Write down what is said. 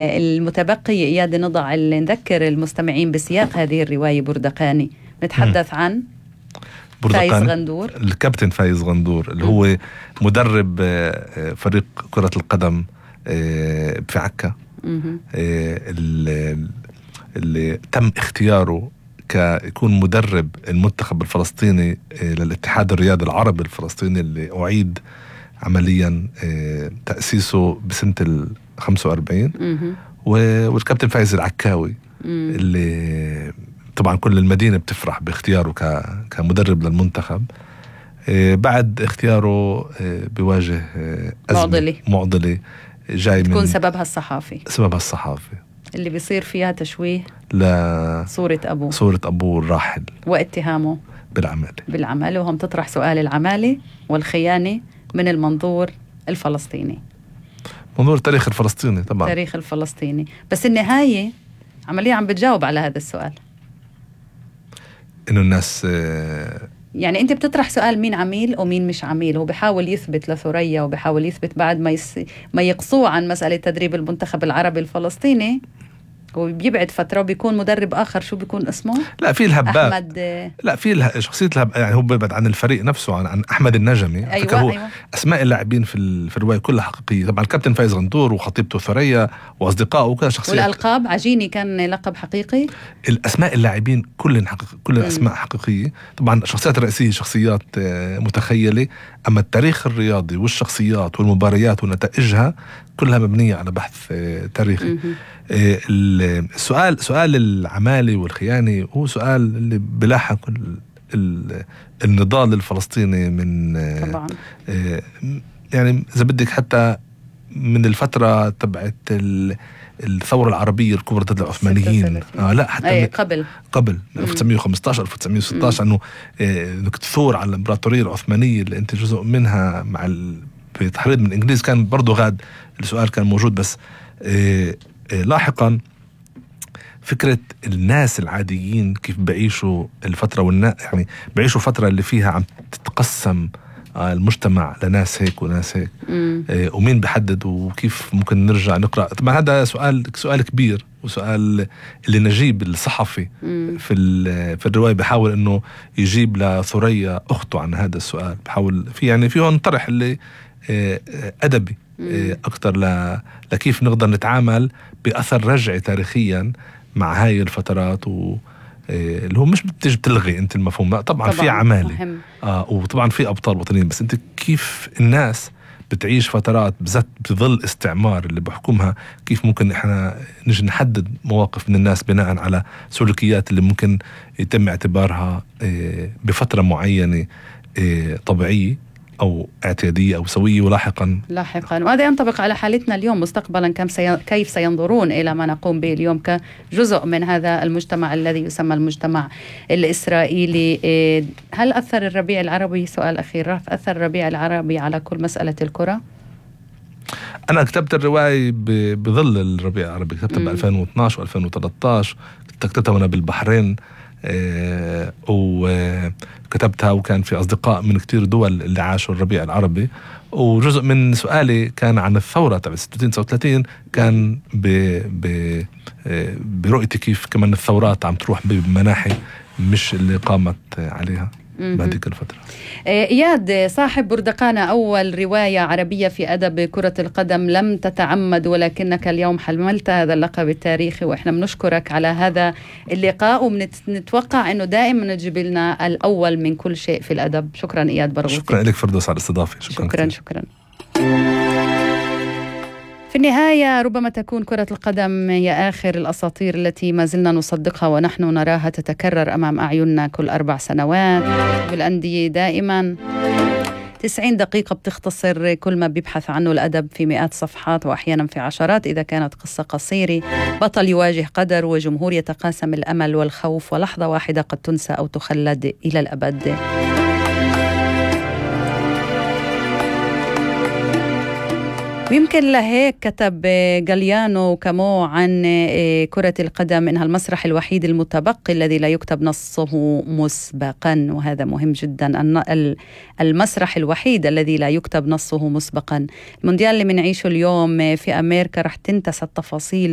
المتبقي إياد نضع نذكر المستمعين بسياق هذه الرواية بردقاني. نتحدث عن فايز غندور، الكابتن فايز غندور اللي هو مدرب فريق كرة القدم في عكا، اللي تم اختياره كيكون مدرب المنتخب الفلسطيني للاتحاد الرياضي العربي الفلسطيني اللي أعيد عمليا تأسيسه بسنة 45. والكابتن فايز العكاوي اللي طبعا كل المدينة بتفرح باختياره كمدرب للمنتخب. بعد اختياره بيواجه أزمة معضلة جاي تكون من سببها الصحافي اللي بيصير فيها تشويه صورة أبوه الراحل واتهامه بالعمالة، وهم تطرح سؤال العمالة والخيانة من المنظور الفلسطيني، منظور التاريخ الفلسطيني طبعا، تاريخ الفلسطيني. بس النهاية عمليا عم بتجاوب على هذا السؤال، إنه الناس يعني أنت بتطرح سؤال مين عميل ومين مش عميل. هو بيحاول يثبت لثريا وبيحاول يثبت بعد ما يقصوه عن مسألة تدريب المنتخب العربي الفلسطيني، وبيبعد فترة وبيكون مدرب آخر. شو بيكون اسمه؟ لا في الهباب أحمد، لا في شخصية يعني هو بيبعد عن الفريق نفسه، عن أحمد النجمي. أيوة. أسماء اللاعبين في الرواية كلها حقيقية طبعا. الكابتن فايز غندور وخطيبته ثريا وأصدقائه وكذا شخصية. والألقاب عجيني كان لقب حقيقي. الأسماء اللاعبين كل الأسماء حقيقية طبعا. الشخصيات الرئيسية شخصيات متخيلة، أما التاريخ الرياضي والشخصيات والمباريات ونتائجها كلها مبنية على بحث تاريخي. سؤال العمالة والخيانة هو سؤال اللي بلاحق النضال الفلسطيني من طبعا. يعني إذا بدك حتى من الفترة تبعت الثورة العربية الكبرى ضد العثمانيين. لا حتى قبل 1915 1916 انه تثور على الامبراطورية العثمانية اللي انت جزء منها مع بتحريض من الانجليز. كان برضو غاد السؤال كان موجود، بس لاحقا فكرة الناس العاديين كيف بعيشوا الفترة يعني بعيشوا فترة اللي فيها عم تتقسم المجتمع لناس هيك وناس هيك، ومين بحدد وكيف ممكن نرجع نقرأ. طبعا هذا سؤال كبير، وسؤال اللي نجيب الصحفي في الرواية بحاول انه يجيب لثريا اخته عن هذا السؤال. بحاول في هون طرح اللي أدبي أكتر لكيف نقدر نتعامل بأثر رجعي تاريخيا مع هاي الفترات، اللي هو مش بتيجي بتلغي انت المفهوم. طبعا في عمالة وطبعا في أبطال وطنيين، بس انت كيف الناس بتعيش فترات بذات بظل استعمار اللي بحكمها، كيف ممكن احنا نجي نحدد مواقف من الناس بناء على سلوكيات اللي ممكن يتم اعتبارها بفترة معينة طبيعية أو اعتيادية أو سوية، ولاحقا وهذا ينطبق على حالتنا اليوم. مستقبلا كيف سينظرون إلى ما نقوم به اليوم كجزء من هذا المجتمع الذي يسمى المجتمع الإسرائيلي؟ هل أثر الربيع العربي، سؤال أخير، أثر الربيع العربي على كل مسألة الكرة؟ أنا كتبت الرواية بظل الربيع العربي، كتبتها ب 2012 و2013، كتبتها وأنا بالبحرين، وكتبتها وكان في أصدقاء من كتير دول اللي عاشوا الربيع العربي. وجزء من سؤالي كان عن الثورة تبع 36 كان برؤيتي كيف كمان الثورات عم تروح بمناحي مش اللي قامت عليها بهذيك الفترة. إياد، صاحب بردقانة، أول رواية عربية في أدب كرة القدم، لم تتعمد ولكنك اليوم حملت هذا اللقب التاريخي، وإحنا بنشكرك على هذا اللقاء، ونتوقع أنه دائما تجيب لنا الأول من كل شيء في الأدب. شكرا إياد برغوثي. شكرا لك فردوس على الاستضافة. شكرا. في النهاية ربما تكون كرة القدم هي آخر الأساطير التي ما زلنا نصدقها ونحن نراها تتكرر أمام أعيننا كل 4 سنوات. بالأندية دائما 90 دقيقة بتختصر كل ما بيبحث عنه الأدب في مئات صفحات وأحيانا في عشرات إذا كانت قصة قصيرة. بطل يواجه قدر وجمهور يتقاسم الأمل والخوف، ولحظة واحدة قد تنسى أو تخلد إلى الأبد. ويمكن لهيك كتب غاليانو كامو عن كرة القدم إنها المسرح الوحيد المتبقي الذي لا يكتب نصه مسبقا، وهذا مهم جدا. المسرح الوحيد الذي لا يكتب نصه مسبقا. المونديال اللي منعيشه اليوم في أمريكا رح تنتسى التفاصيل